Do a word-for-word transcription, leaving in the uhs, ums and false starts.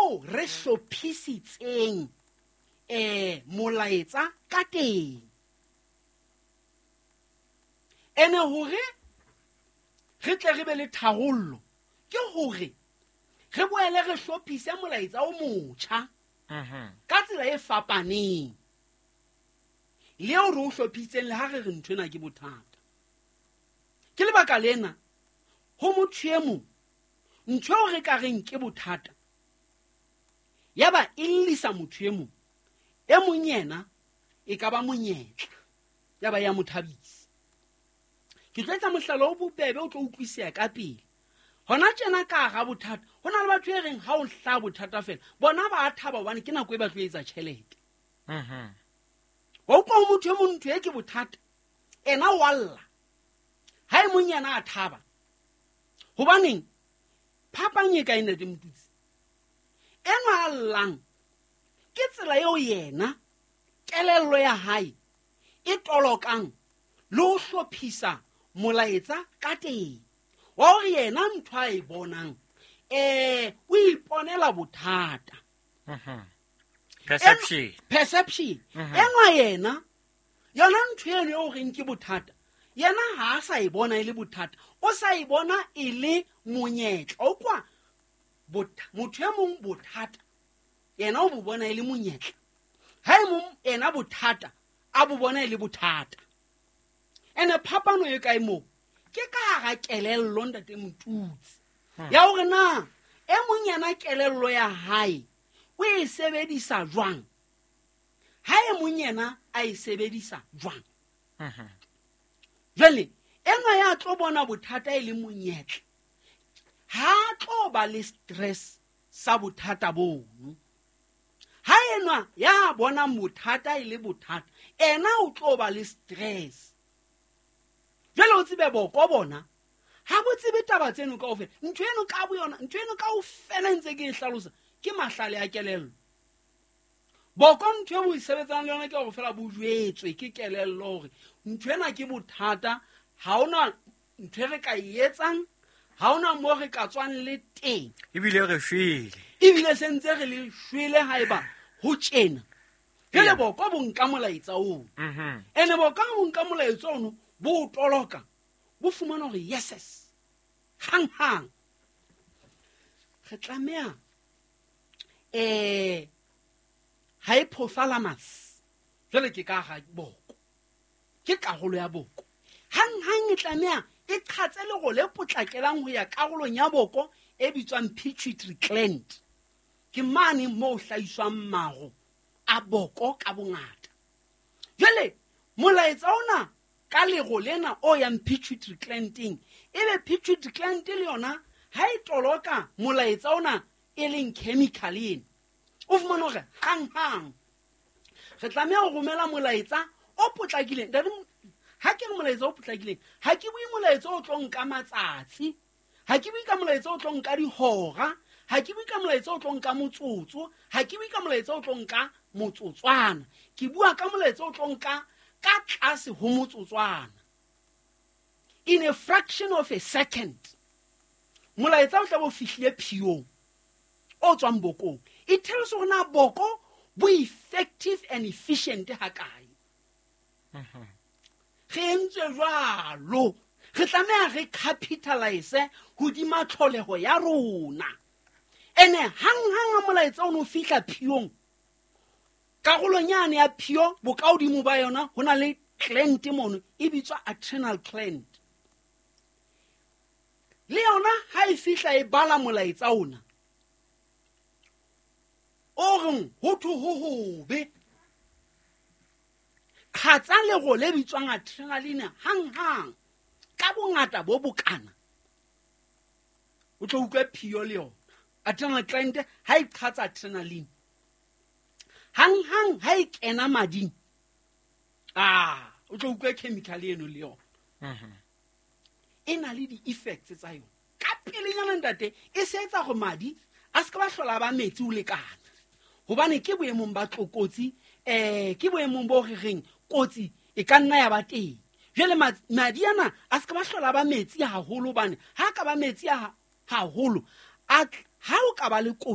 moo re hlophisitseng um molaetsa ka teng. Ene hore re tle re be le tharollo ke hore re boele re hlophise molaetsa o motjha ka tsela e fapaneng le eo re o hlophisitseng le ha re re ntho ena ke bothata. Ke lebaka lena ho motho e mong ntho eo re ka reng ke bothata ya ba e llisa motho e mong, e mong yena e ka ba monyetla ya ba ya mo thabisa. Ke tlo etsa mohlala o bobebe o tlo utlwisiya ka pele. Hona tjena ka hara bothata ho na le batho e reng ha o hlaha bothata fela bona ba a thaba hobane ke nako e ba tlo etsa tjhelete. Wa utlwa ho motho e mong ntho e ke bothata ena wa lla, ha e mong yena a thaba. Hobaneng? Phapang e kae ntate Motutsi? Enwa a llang ke tsela eo yena kelello ya hae e tolokang le ho hlophisa molaetsa ka teng. Wa hore yena ntho a e bonang eh o iponela bothata. Perception. Perception. Enwa yena yona ntho eno eo reng ke bothata yena ha a sa e bona e le bothata, o sa e bona e le monyetla. O kwa motho e mong bothata yena o bo bona e le monyetla, ha e mong ena bothata a bo bona e le bothata. Ene phapano e kae moo? Ke ka hara kelello ntate Motutsi ya hore na e mong yena kelello ya hae o e sebedisa jwang, ha e mong yena a e sebedisa jwang. Jwale enwa ya tlo bona bothata e le monyetla ha tlo ba le stress sa bothata bono. Ha enwa ya bona bothata e le bothata ena o tlo ba le stress. Jwale o tsebe boko bona ha bo tsebe taba tseno kaofela. Ntho eno ka bo yona, ntho eno kaofela ntse ke e hlalosa ke mahlale a kelello. Boko ntho e bo e sebetsang le yona ke hore fela bo jwetswe ke kelello hore ntho ena ke bothata, ha hona ntho e re ka e etsang, ha hona moo re ka tswang le teng. Ebile re shwele. Ebile se ntse re le shwele haeba ho tjena. Jwale boko bo nka molaetsa oo. Ene boko ha bo nka molaetsa ono bo o toloka, bo fumana hore yeses hang hang re tlameha eh hypothalamus jwale ke ka hara boko, ke karolo ya boko. Hang hang e tlameha e qhatse lero le potlakelang ho ya karolong ya boko e bitswang pituitary gland. Ke mane moo hlahiswang maro a boko ka bongata. Jwale molaetsa ona ka lero lena o yang pituitary glandeng, ebe pituitary gland le yona ha e toloka molaetsa ona e leng chemical ena, o fumana hore hang hang re tlameha ho romela molaetsa o potlakileng. Ntate, ha ke re molaetsa o potlakileng, ha ke bue molaetsa o tlo nka matsatsi, ha ke bue ka molaetsa o tlo nka dihora, ha ke bue ka molaetsa o tlo nka motsotso, ha ke bue ka molaetsa o tlo nka motsotswana. Ke bua ka molaetsa o tlo nka ka tlase ho motsotswana, in a fraction of a second. Molaetsa o tla bo fihlile phiong o tswang bokong. It tells hore na boko bo effective and efficient hakae. Re entswe jwalo, re tlameha re capitalize hodima tlholeho ya rona. Ene hang hang ha molaetsa o no fihla phiong, karolong yane ya phio bokahodimo ba yona ho na le gland mono e bitswa adrenal gland. Le yona ha e fihla e bala molaetsa ona o reng ho thwe ho hobe, qhatsa lero le bitswang adrenaline hang hang ka bongata bo bokana, o tlo utlwe phio le yona. Adrenal gland ha e qhatsa adrenaline hang hang ha e kena mading, ah o tlo utlwe chemical eno le yona. E na le di-effects tsa yona ka pelenyana ntate, e se etsa hore madi a se ka ba hlola ba metsi o lekana, hobane ke boemong ba tlokotsi, eh ke boemong bo re reng kotsi e ka nna ya ba teng. Jwale madi ana a se ka ba hlola ba metsi haholo, hobane ha ka ba metsi haholo, a ha o ka ba le kotsi